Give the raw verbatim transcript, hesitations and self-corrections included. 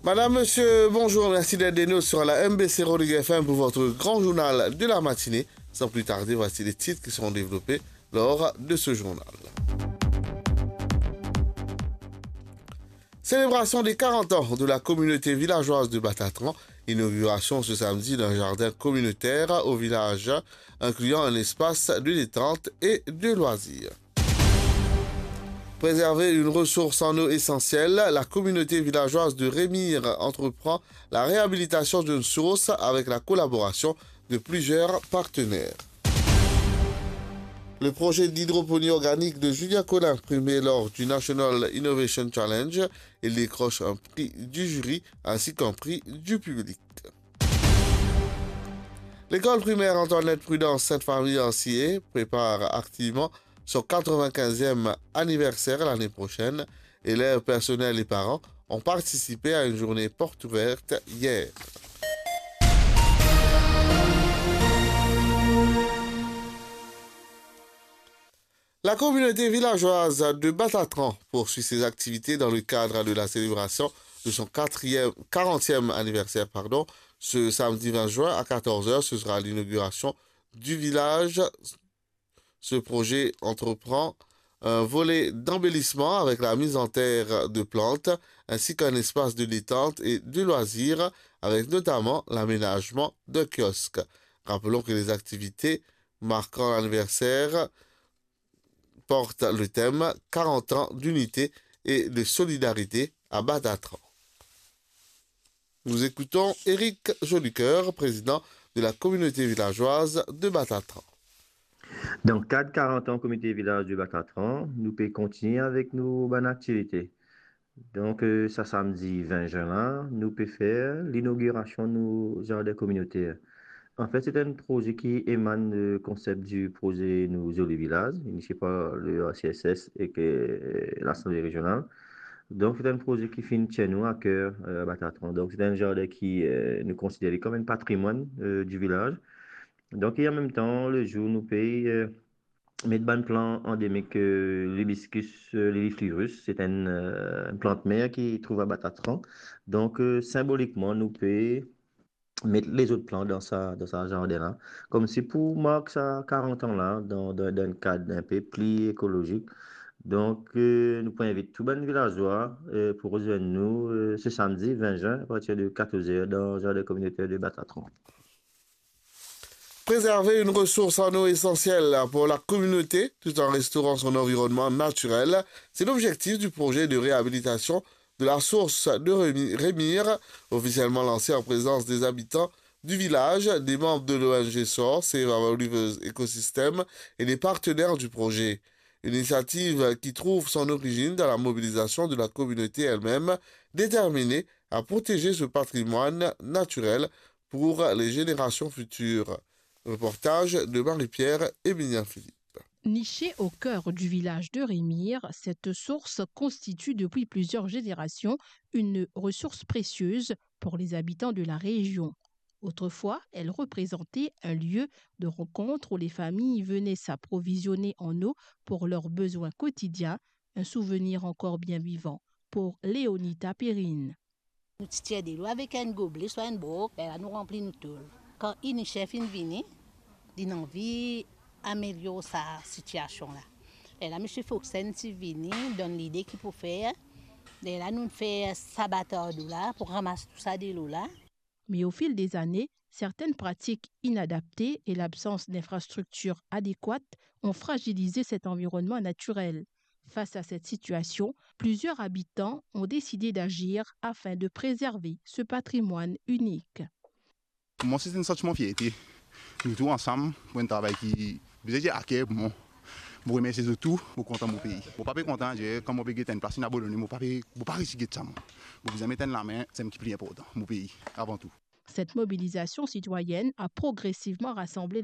Madame, monsieur, bonjour, merci d'être des nôtres sur la M B C Rodrigues F M pour votre grand journal de la matinée. Sans plus tarder, voici les titres qui seront développés lors de ce journal. Célébration des quarante ans de la communauté villageoise de Batatran, inauguration ce samedi d'un jardin communautaire au village, incluant un espace de détente et de loisirs. Préserver une ressource en eau essentielle, la communauté villageoise de Rémire entreprend la réhabilitation d'une source avec la collaboration de plusieurs partenaires. Le projet d'hydroponie organique de Julien Collin, primé lors du National Innovation Challenge, il décroche un prix du jury ainsi qu'un prix du public. L'école primaire Antoinette Prudence Sainte-Famille Ancillé prépare activement son quatre-vingt-quinzième anniversaire l'année prochaine. Élèves, personnel et parents ont participé à une journée porte ouverte hier. La communauté villageoise de Batatran poursuit ses activités dans le cadre de la célébration de son quatrième, quarantième anniversaire, pardon. Ce samedi vingt juin à quatorze heures, ce sera l'inauguration du village. Ce projet entreprend un volet d'embellissement avec la mise en terre de plantes, ainsi qu'un espace de détente et de loisirs, avec notamment l'aménagement d'un kiosque. Rappelons que les activités marquant l'anniversaire portent le thème quarante ans d'unité et de solidarité à Batatran. Nous écoutons Éric Jolicoeur, président de la communauté villageoise de Batatran. Dan kad karant an Komite Vilaz de Batatran, nou pe kontigne avek nou bann aktivite. Donk, eh, sa samdi vin zin la, nou pe fer linogirasion nou zardin kominoter. Anfet, se enn proze ki emann, eh, konsep di proze Nou Zoli Vilaz, inisie par le R C S S ek, eh, Lasanble Rezional. Donk, se enn proze ki finn tir nou a ker, eh, a Batatran. Donk, se enn zardin ki, eh, nou konsider li kom enn patrimwann, eh, di vilaz. Donk, e an mem tan, lezour nou pe, eh, met bann plan andemik, eh, l'hibiscus, eh, liliflorus, se enn, eh, enn plant mer ki trouv a Batatran. Donk, eh, sinbolikman, nou pe met lezot plan dan sa, dan sa zardin la. Komsi pou mark sa karant an la, dan, dan, dan enn kad enpe pli ekolozik. Donk, eh, nou pou invit tou bann vilazwa, eh, pou rezwenn nou, eh, se samdi vin zin, apartir de katorz er, dan zardin kominoter de Batatran. Préserver une ressource en eau essentielle pour la communauté tout en restaurant son environnement naturel, c'est l'objectif du projet de réhabilitation de la source de Rémi-, Rémire, officiellement lancée en présence des habitants du village, des membres de l'O N G SOR, Save Our Rivers Ecosystem et des partenaires du projet. Une initiative qui trouve son origine dans la mobilisation de la communauté elle-même, déterminée à protéger ce patrimoine naturel pour les générations futures. Reportage de Marie-Pierre et Mignon Philippe. Nichée au cœur du village de Rémire, cette source constitue depuis plusieurs générations une ressource précieuse pour les habitants de la région. Autrefois, elle représentait un lieu de rencontre où les familles venaient s'approvisionner en eau pour leurs besoins quotidiens, un souvenir encore bien vivant pour Léonita Perrine. Nou ti tir delo avek enn goble, swa enn brok, lerla nou ranpli nou tol. Kan Unicef inn vini, linn anvi amelior sa sitiasion la. Lerla misie Foxen ti vini, donn lide ki pou fer. Lerla nou fer sa batar dlo la pou ramas tou sa delo la. Mais au fil des années, certaines pratiques inadaptées et l'absence d'infrastructures adéquates ont fragilisé cet environnement naturel. Face à cette situation, plusieurs habitants ont décidé d'agir afin de préserver ce patrimoine unique. Mwa, se enn santiman fierte. Nou tou ansam pou enn travay ki, bizin dir, a ker pou mwa. Mo remersie zot tou, mo kontan mo pei. Mo pa pe kontan, dir, kan mo pe get enn plas inn abandone, mo pa pe, mo pa resi get sa mwa. Mo bizin met enn lame, seki pli inportan, mo pei, avan tou. Cette mobilisation citoyenne a progressivement rassemblé